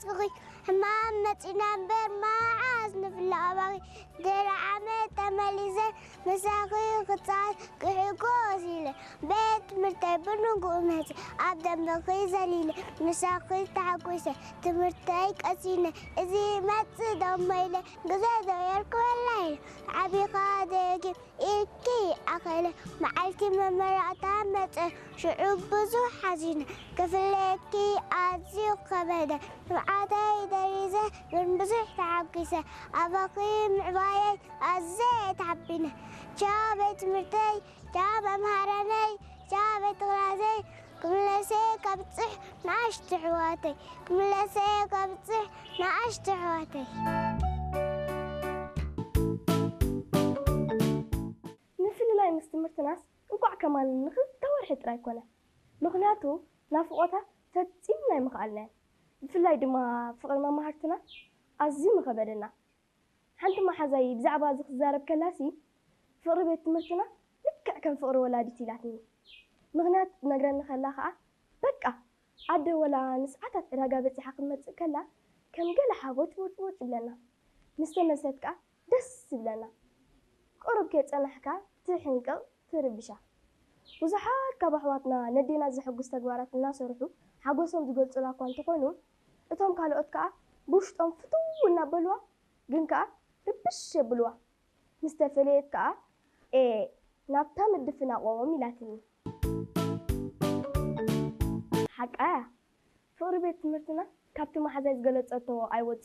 ጽኺ ሕማም መጺና እምበር መዓስ ንፍለ ኣባኺ። ድሕሪ ዓመት ተመሊሰ ምሳኺ ክጻወት ክሕጎስ ኢለ። ቤት ትምህርተይ ብንግኡ መጺ ኣብ ደንበኺ ዘሊለ። ምሳኺ ተሓጒሰ ትምህርተይ ቀሲነ። እዚ መጽእ ደሞ ኢለ ግዜ ዶ የርክበላ ኢለ። ዓቢኻ ደጊም ኢልኪ ኣኸለ መዓልቲ መመረቕታ መጸ። ሽዑ ብዙሕ ሓዚነ ክፍለየኪ ኣዝዩ ከበደ። ንብዓተይ ደሪዘ ግን ብዙሕ ተሓጒሰ። ኣባኺ ምዕባየይ ኣዝየ ተሓቢነ። ቻው ቤት ትምህርተይ፣ ቻው መምሃራነይ፣ ቻው ቤት ክላሰይ። ክምለሰ ከብጽሕ ንኣሽቱ ኣሕዋተይ፣ ክምለሰ ከብጽሕ ንኣሽቱ ኣሕዋተይ። ምፍልላይ ምስ ትምህርትናስ እንቋዕ ከማን ንኽልተ ወርሒ ጥራይ ኮነ። ምኽንያቱ ናፍቖታ ፈጺምና ኣይምኽኣልናዮን። ብፍላይ ድማ ፍቕሪ መማህርትና ኣዝዩ ምኸበደና። ሓንቲ መሓዛይ ብዛዕባ እዚ ክትዛረብ ከላሲ፣ ፍቕሪ ቤት ትምህርትና ልክዕ ከም ፍቕሪ ወላዲት ኢላትኒ። ምኽንያት ትነግረኒ ከላ ከኣ፣ በቃ ኣደ ወላ ንሰዓታት ዕዳጋ በጺሓ ክትመጽእ ከላ ከም ገለ ሓቦጭቦጭቦጭ ይብለና። ምስ ተመልሰት ከኣ ደስ ይብለና። ቁሩብ ከይጸናሕካ ትሕንቅቕ፣ ትርብሻ። ብዙሓት ካብ ኣሕዋትና ነዴና ዘሐጉስ ተግባራት እናሰርሑ ሓጎሶም ዝገልጹላ እኳ እንተኾኑ፣ እቶም ካልኦት ከኣ ብውሽጦም ፍትው እናበልዋ ግን ከኣ ርብሽ የብልዋ። ምስ ተፈለየት ከኣ፣ ኤ፣ ናብታ ምድፍናቖም ኢላትኒ። ሓቃ እያ። ፍቕሪ ቤት ትምህርትና ካብቲ መሓዛይ ዝገለጸቶ ኣይወጽእን።